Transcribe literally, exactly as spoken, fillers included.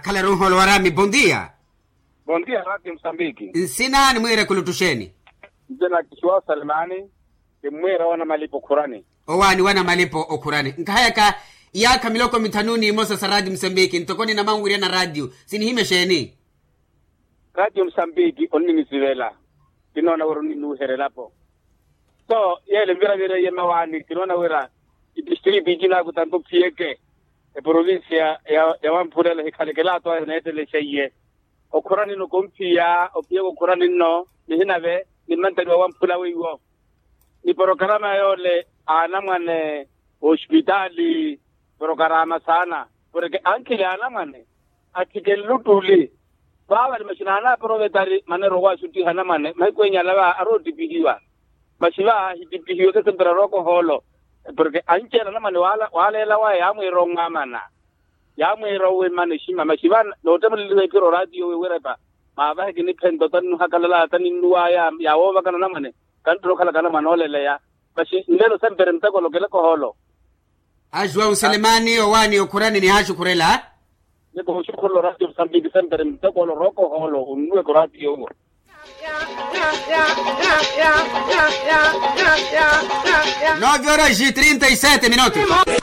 Halaru nholo warami bondia. Bondia rati msambiki. Nsina ni mwire kulutusheni. Nsina kisiwa salimani. Kimwire wana malipo khurani. Owani wana malipo okhurani nkahayaka. Iyakha miloko mithanu ni imosa sa rati msambiki ntoko ni namanwirya na rati sinihimesheni. Rati msambiki oninisivela. Kinoona wira oninuherelapo. So yele mvira vira yemawani kinoona wira. Idistritu icinaku tanto phiyeke. Eprovincia ya wamphulelo hikhalekela ato ayo neetelesha iye. Okhurani nno komphiya ophiyeke okhurani nno. Nihinave ni mmantani wa wamphula weiwo. Ni porokarama yoole aanamwane. Ospitaali porokarama saana. Porke ankhili aanamwane athike nluttuli. Vaavali maxina aanaaporovetari maneero owaasuttiha anamwane mahiku enyala va aroottipihiwa. Maxi va ahittipihiwe kesempera rookohoolo. Porke anci ela anamwane waaleela waya yaamwiira onwaamana. Yaamwiira owimana exima maxi va noottemuleliwa ephiro oraatiyo wiwirepa. Maavahe kiniphenta otannuhakalala taninnuwaya yaawoovakana anamwane. Kantthuna okhalaka anamwane ooleleya. Maxi nlelo sempere muteko olokeleka ohoolo. Ajuwa unselemani owani okhurani nihaxukhurela. Niko oxukhurela oraatiyo musambiki sempere muteko olo rookohoolo onnuweka oraatiyo uwo. Nove horas e trinta e sete minutos.